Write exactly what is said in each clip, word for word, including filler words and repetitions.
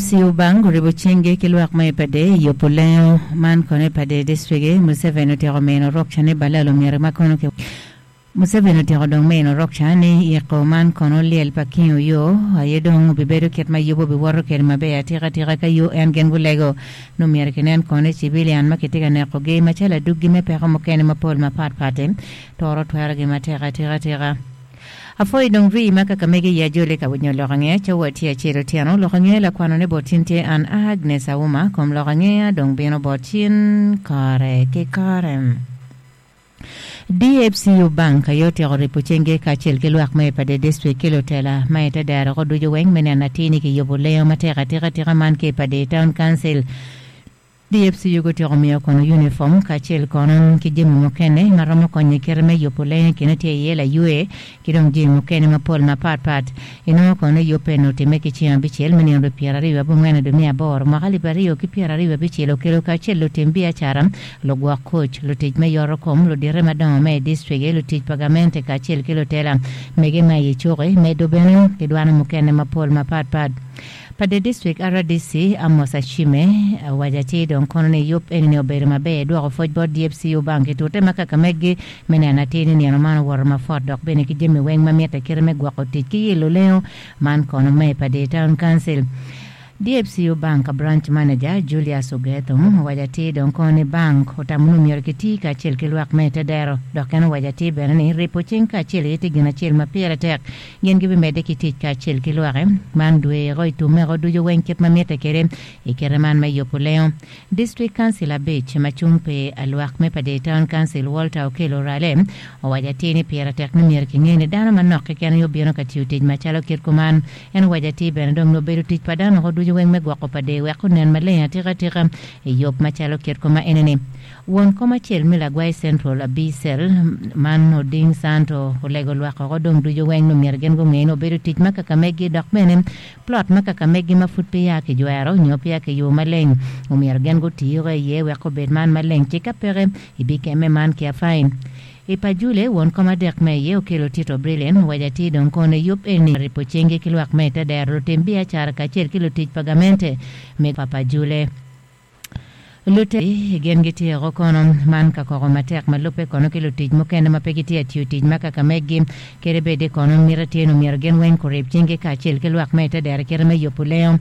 D F C U Bank oribo cinge ki lwak ma i Pader yubo lengo man kono i Pader District. Museveni otyeko mino rukca ni balalo myero ma kono ki Museveni otyeko dong mino rukca ni iko man kono lyel pa King Oyo aye dong obibedo kit ma yubo biwoto kede maber atika atika ka U N gin gulego no myero kinen kono civilian ma kitye ka nekogi macalo aduggi me peko mukene mapol mapatpat toro twerogi matek atika atika. Afoyi dong rii ma kaka mege ya jole ka winyo lok ang'eya cawa tye acel otyeno. Lok ang'eya lakwano ne bot tin tye an Agnes Auma kom lok ang'eya dong bino bot cin kore ki kore. D F C U Bank aye otyeko ripo cenge kacel ki lwak ma i Pader District ki lutela ma ite dero ko ducu weng me neno atir ni kiyubo lengo matek atika atika man ki i Pader Town Council. D F C U gutyeko miyo kono uniform kacel kono ki jami mukene ma romo konyo i kite me yubo lengo. Kine tye iye laywe ki dong jami mukene mapol mapatpat. Inongo kono yubbe no otimme ki ceng abicel me nino pyero aryo abongwen dwe me aboro mwaka alip aryo ki pyero aryo abicel. Okelo kacel lutim biacara, lugwok kuc, lutic me yoto kom, ludite madongo me i district, lutic pa gamente kacel ki lutela mege ma i cuki medo bene ki dwano mukene mapol mapatpat. Pader District R D C Amos Achime owaco atir dong kono ni yub eni obedo maber dwoko pwoc bot D F C U Bank itute ma kaka megi me neno atir ni nino man owoto mafot dok bene ki jami weng ma mitte kite me gwoko tic ki yilo lengo man kono me Pader Town Council. D F C U Bank branch manager Julius Ogeto owaco atir dong kono ni bank otamo ni myero kiti kacel ki lwak me ite dero dok en owaco atir bene ni ripo cing kacel aye tye gin acel ma pire tek. Gin gibimedde ki tic kacel ki lwake man dweko i tumeko ducu weng kit ma mitte kede i kite man me yubo lengo. District Council abic ma cung pi alwak me Pader Town Council Walter Okello Orale owaco atir ni pire tek ni myero kinge ni dano manok keken aye obino ka tiyo tic macalo kit kuman. En owaco atir bene dong obedo tic pa dano oko ducu weng me gwoko Pader wek onen maleng atika atika i yub macalo kit kuma enini. Won kom acel me Lagwai Central Abicel man Oding Santo olego lwak oko dong ducu weng no myero gin gung'e ni obedo tic ma kaka megi dok bene plot ma kaka megi ma pud peya kijwero nyo peya kiyubo maleng omyero gin gutiyo iye wek obed man maleng ci ka peke ibikemme man ki fine. I Pajule won kom adek me iye okelo Tito Brilliant owaco atir dong kono yub eni ripo cenge ki lwak me ite dero, lutim biacara kacel ki lutic pa gamente me pa Pajule. Lute gin gityeko kono man ka koko matek ma lubbe kono ki lutic mukene ma pe gitye atiyo tic ma kaka megi kede bedi kono mito tye ni myero gin weng kurib cingi kacel ki lwak me ite dero kite me yubo lengo.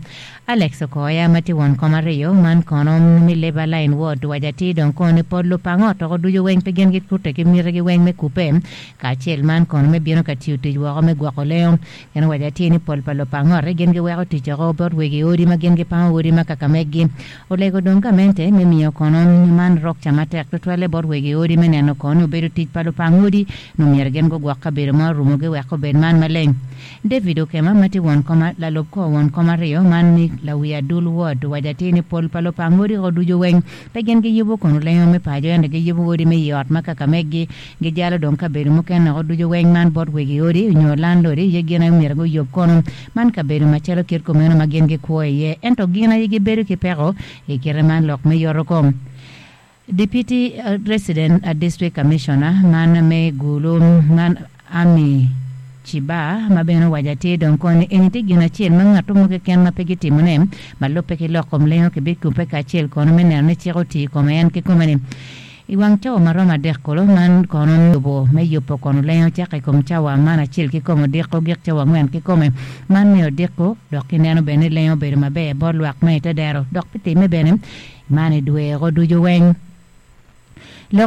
Alex Okoya ma tye won kom aryo man kono mi Labour Line Ward waco atir dong kono ni pol lupang ot oko ducu weng pe gin gikute ki mitigi weng me kupe kacel man kono me bino ka tiyo tic woko me gwoko lengo. En owaco atir ni pol pa lupang ot gin giweko tic oko bot wegi odi ma gin gipango odi ma kaka megi. Olego dong gamente me miyo kono man rukca matek tutwalle bot wegi odi me neno kono obedo tic pa lupang odi no myero gin gugwok kabedo ma orumogi wek obed man maleng. David Okema ma tye won kom lalub kor won kom aryo man ni lawi adul ward owaco atir ni pol pa lupang odi ko ducu weng pe gin giyubo kono lengo me paco ento giyubo odi me i ot ma kaka megi gijalo dong kabedo mukene oko ducu weng man bot wegi odi nyo landlord ye gin aye myero guyub kono man kabedo macalo kit kumeno ma gin gikwo iye ento gin aye gibedo ki peko i kite man lok me yoto kom. Deputy uh, Resident uh, District Commissioner man me Gulu man Ami Chiba ma bene owaco atir dong kono eni tye gin acel ma ng'ato mo keken ma pe gitimone ma lubbe ki lok kom lengo kibikupe kacel kono me neno ni cik oti i kome en kikome-ni. I wang cawa ma romo adek kulu man kono yubo me yubo kono lengo cako i kom cawa man acel kikome odiko gik cawa angwen kikome man me odiko dok kineno bene ni lengo obedo maber bot lwak me ite dero dok pi timme bene man i dweko ducu weng. Lok